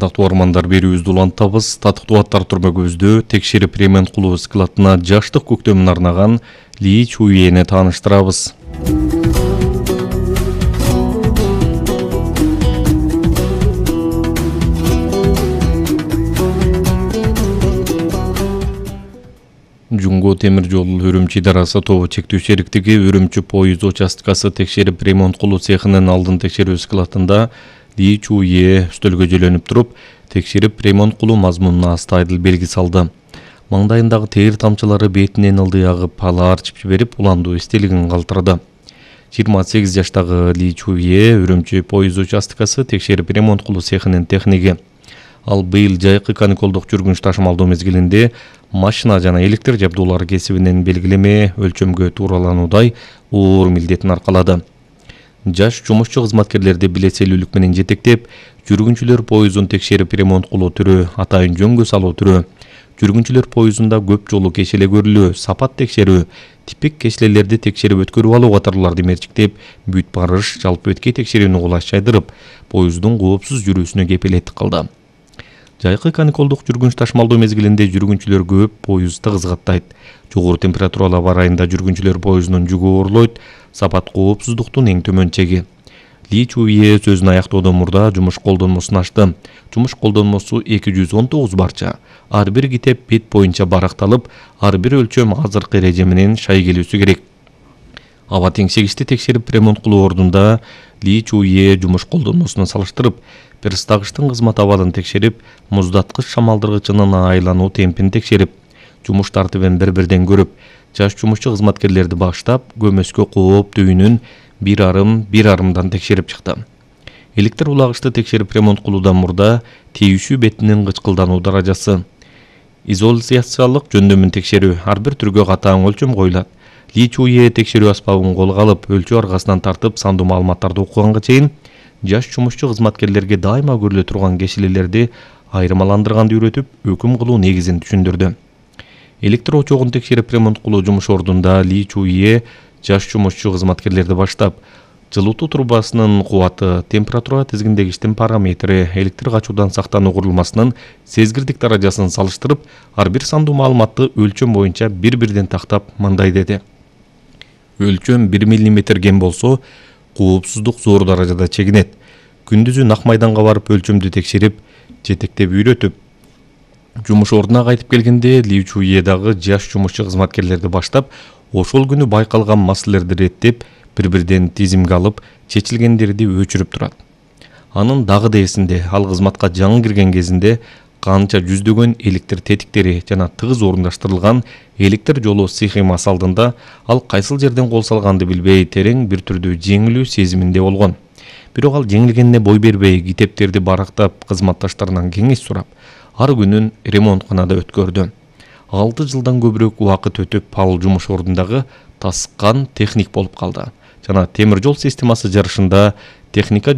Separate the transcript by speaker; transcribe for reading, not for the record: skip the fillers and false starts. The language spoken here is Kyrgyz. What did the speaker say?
Speaker 1: Ардактуу армандар, берүүбүздү улантабыз. Татыктуу аттар түрмөгүбүздө текшерип ремонт кылуу складына жаштык көктөмүн арнаган Ли Чуйени тааныштырабыз. Жуңго темир жол Үрүмчү идарасы тобу чектүү сериктиги Үрүмчү поезд участкасы текшерип ремонт кылуу цехинин алдын текшерүү складында Ли Чуйе үстөлгө жөлөнүп туруп, текшерип ремонт кылуу мазмунуна астайдыл белги салды. Маңдайындагы тээр тамчылары бетинен ылдый агып, ала арчып жиберип, уландуу эстелигин калтырды. 28 жаштагы Ли Чуйе Үрүмчү поезд участкасы текшерип ремонт кылуу цехинин техниги. Ал быйыл жайкы каникулдук жүргүнч ташымалдоо мезгилинде машина жана электр жабдуулары кесибинен белгилеме өлчөмгө тууралануудай оор милдетин аркалады. Жаш жумушчу кызматкерлерди билетселүүлүк менен жетектеп, жүргүнчүлөр поездун текшерип ремонт кылуу түрү, атайын жөнгө салуу түрү, жүргүнчүлөр поездунда көп жолу кешеле көрүлүү, сапат текшерүү, типик кеселелерди текшерип өткөрүп алуу катарларды мерчиктеп, бүт барыш жалпы өткөй текшерүүнү кулаш жайдырып, поездун коопсуз жүрүүсүнө кепилеттик кылды. Жайкы каникулдук жүргүнч ташымалдоо мезгилинде жүргүнчүлөр көп, поезд тыгыз каттайт. Жогору температуралар бар айында жүргүнчүлөр поездунун жүгү оорлойт, сапат коопсуздуктун эң төмөн чеги. Ли Чуйе сөзүн аяктоодон мурда жумуш колдонмосун ачты. Жумуш колдонмосу 219 барча. Ар бир китеп бет боюнча баракталып, ар бир өлчөм азыркы эреже менен шай келүүсү керек. Аба теңшегичти текшерип ремонт кылуу ордунда Ли Чуйе жумуш колдонмосуна салыштырып, перстагычтын кызмат абалын текшерип, муздаткыч шамалдыргычынын айлануу темпин текшерип, жумуш тартибин бир-бирден көрүп, жаш жумушчу кызматкерлерди баштап, көмөскө кооп түйүнүн 1,5 текшерип чыкты. Электр улагычты текшерип ремонт кылуудан мурда тийүүшүү бетинин кычкылдануу даражасы, изоляциялык жөндөмүн текшерүү, ар бир түргө катаң өлчөм коюлат. Ли Чуйе текшерүү аспабын колго алып, өлчөө аргасынан тартып, сандуу маалыматтарды окуганга чейин жаш жумушчу кызматкерлерге дайыма көрүлө турган кесилелерди айырмаландырганды үйрөтүп, өкүм кылуу негизин түшүндүрдү. Электр очогун текшерип ремонт кылуу жумуш ордунда Ли Чуйе жаш жумушчу кызматкерлерди баштап, жылытуу трубасынын кубаты, температура тизгиндегичтин параметри, электр качуудан сактануу курулмасынын сезгирдик даражасын салыштырып, ар бир сандуу маалыматты өлчөм боюнча бир-бирден тактап, мындай деди. Өлчөм 1 мм кем болсо, коопсуздук зор даражада чегинет. Күндүзү ак майданга барып өлчөмдү текшерип, жетектеп үйрөтүп, жумуш ордуна кайтып келгенде Ли Чуйе дагы жаш жумушчу кызматкерлерди баштап, ошол күнү байкалган маселелерди реттеп, бир-бирден тизимге алып, чечилгендерди өчүрүп турат. Анын дагы да эсинде, ал кызматка жаңы кирген кезинде канча жүздөгөн электр тетиктери жана тыгыз орундаштырылган электр жолу схемасы алдында ал кайсыл жерден кол салганды билбей, терең бир түрдүү жеңилүү сезиминде болгон. Бирок ал жеңилгенине бой бербей, китептерди барактап, кызматташтарынан кеңеш сурап, ар күнүн ремонтканада өткөрдү. 6 жылдан көбүрөөк убакыт өтүп, ал жумуш ордундагы таскан техник болуп калды. Жана темир жол системасы жарышында техника